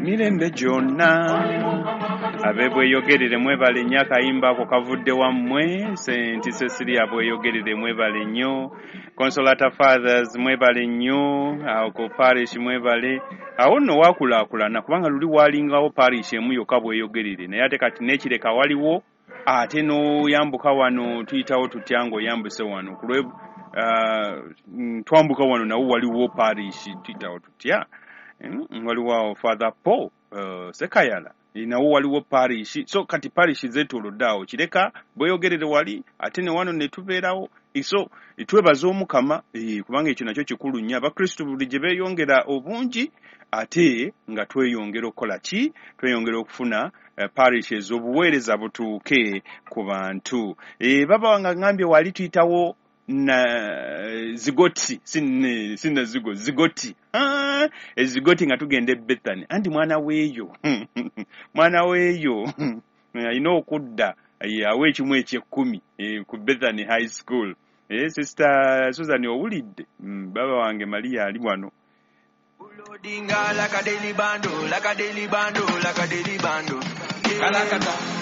Emirembe gyonna. Ab'ebweyogerere mwebale nnyo, akayimba ako kavudde wammwe. Senti Cecilia Bweyogerere, mwebale nnyo. Consolata Fathers, mwebale nnyo awo ku parish, mwebale. Awo nno wakulaakulana, kubanga luli walingawo parish emu yokka, Bweyogerere, naye ate kati n'ekireka waliwo, ate n'oyambuka wano, tuyitawo tutya ng'oyambuse wano kulwe twambuka wano, nawo waliwo parish, tuyitawo tutya? Waliwo awo Father Paul Sekayala, nawo waliwo parish. So kati parish zeetoolodde awo, Kireka, Bweyogerere wali, ate ne wano ne tubeerawo. So twebaza Omukama, kubanga ekyo nakyo kikulu nnyo. Abakristu buli gye beeyongera obungi, ate nga tweyongera okukola ki? Tweyongera okufuna parishes, obuweereza butuuke ku bantu. Baba nga ngambye wali tuyitawo na Zigoti, sina zigo Zigoti, ezigoti nga tugenda e Bethany. Anti mwana weeyo, mwana weeyo alina okudda awa ekimu ekyekkumi ku Bethany High School. Sister Susan, owulidde? Baba wange Maria ali wano. Loading like a daily bando, like a daily bando, like a daily bando. Kalakata.